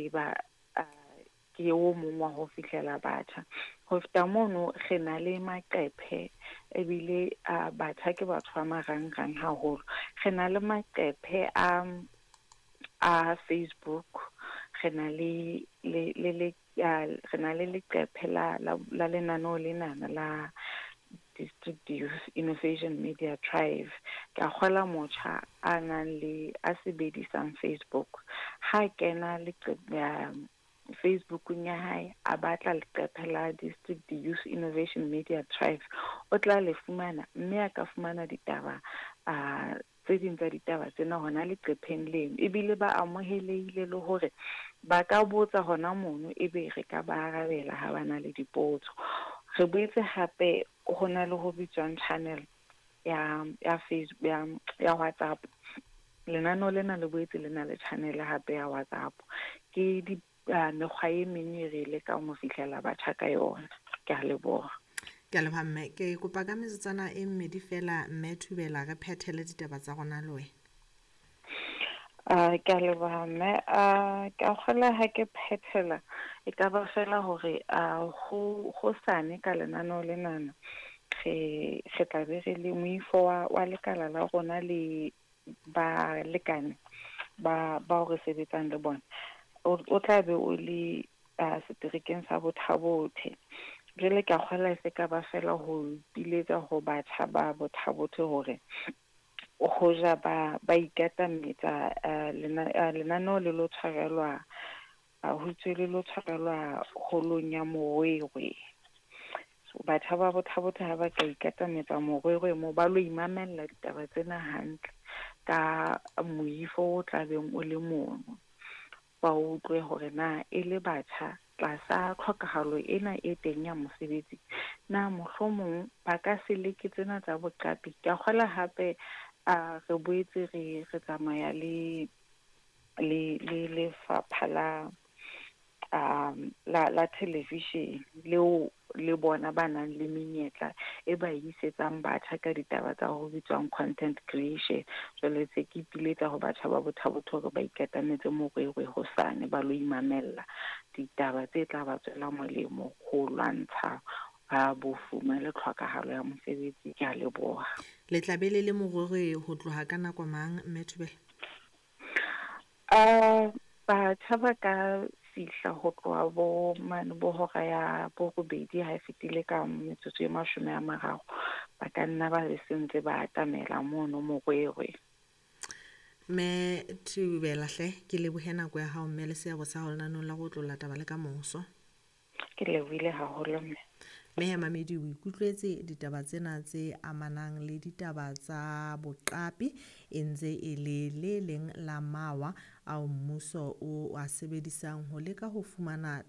tseba ke o mong wa ho fihlela batjha. Ho feta mono re na le maqephe ebile batjha ke batho ba marangrang haholo. Re na le maqephe a Facebook, re na le le le le re na le leqephe la lenaneo lenana la District Youth Innovation Media Thrive. Ke a kgola motjha a nang le a sebedisang Facebook, ha kena Facebookong ya hae a batla leqephe la District Youth Innovation Media Thrive, o tla le fumana mme a ka fumana ditaba tse ding tsa ditaba tsena hona leqepheng leno. Ebile ba amohelehile le hore ba ka botsa hona mono, ebe re ka ba arabela ha ba na le dipotso. Re boetse hape ho na le ho bitswang channel ya Facebook ya WhatsApp. Lenaneo lena le boetse le na le channel hape ya WhatsApp. Ke di mekgwa e meng e re lekang ho fihlela batjha ka yona. Ke a leboha. Ke a leboha mme. Ke kopa ka metsotswana e mmedi fela mme Thubela re phethele ditaba tsa rona le wena. Ke a leboha mme. Ke a kgolwa ha ke phethela e ka ba fela hore hosane ka lenaneo lenana re tla be re le moifo wa lekala la rona le balekane ba bao re sebetsang le bona. O tla be o le seterekeng sa Botha-Bothe. Jwale ke a kgolwa e se ka ba fela ho ipiletsa ho batjha ba Botha-Bothe hore hoja ba ikatametsa lenaneo le lo tshwarelwa ho itswe le lo tshwarelwa holong ya Morwerwe. So batjha ba Botha-Bothe ha ba ka ikatametsa Morwerwe moo ba lo imamella ditaba tsena hantle ka moifo o tlabeng o le mono. Ba utlwe hore na e le batjha tlasa tlhokahalo ena e teng ya mosebetsi, na mohlomong ba ka se leke tsena tsa boqapi. Ke a kgolwa hape re boetse re tsamaya le lefapha la television leo le bona ba nang le menyetla e ba isetsang batjha ka ditaba tsa ho bitswang content creation. Jwale se ke ipiletsa ho batjha ba Botha-Bothe hore ba ikatametse Morwerwe hosane ba lo imamella ditaba tse tla ba tswela molemo ho lwantsha bofuma le tlhokahalo ya mosebetsi. Ke a leboha. Le tla be le le Morwerwe ho tloha ka nako mang mme Thubela? Batjha ba ka fihla ho tloha bo mane bo hora ya borobedi ha e fetile ka metsotso e 30, ba ka nna ba be sentse ba atamela mono Morwerwe. Mme Thubela hle, ke lebohe nako ya hao mme le seabo sa hao lenaneong la go otlolla taba le ka moso. Ke lebohile haholo mme. Mme mamedi o ikutlwetse ditaba tsena tse amanang le ditaba tsa boqapi e ntse e le le leng la mawa ao mmuso o a sebedisang ho leka ho fumana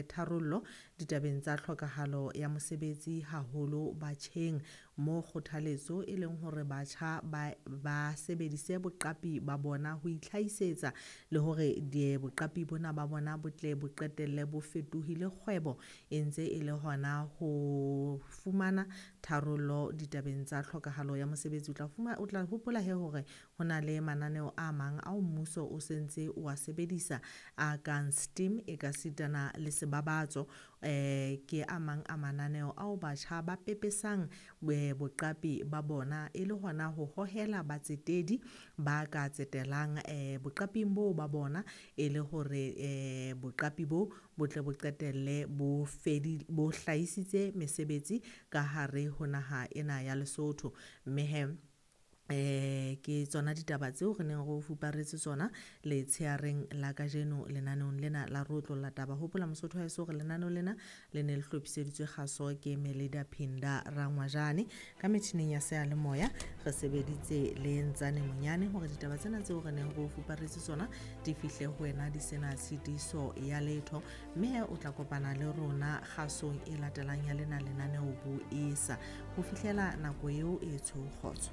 tharollo ditabeng tsa tlhokahalo ya mosebetsi haholo batjheng, mo kgothaletso e leng hore batjha ba sebedise boqapi ba bona ho itlhahisetsa le hore boqapi bona ba bona bo tle bo qetelle bo fetohile kgwebo e ntse e le hona ho fumana tharollo ditabeng tsa tlhokahalo ya mosebetsi. O tla hopola he hore ho na le mananeo a mang ao mmuso o sentse o a sebedisa a kang STEAM e ka sitana le sebabatso, ke a mang a mananeo ao batjha ba pepesang boqapi ba bona e le hona ho hohela batsetedi ba ka tsetelang boqaping bo ba bona e le hore boqapi bo botle bo qetelle bo bo hlahisitse mesebetsi ka hare ho naha ena ya Lesotho. Mme he ke tsona ditaba tseo re neng re o fuparetse tsona letsheareng la kajeno lenaneong lena la re otlolla taba. Hopola Mosotho haeso hore lenaneo lena le ne le hlophiseditswe kgaso ke Melida Phinda Rangwajane. Ka metjhineng ya seyalemoya re sebeditse le Ntsane Monyane hore ditaba tsena tseo re neng re o fuparetse tsona di fihle ho wena di sena tshitiso ya letho. Mme o tla kopana le rona kgasong e latelang ya lena lenaneo bo esa. Ho fihlela nako eo e tsho kgotso.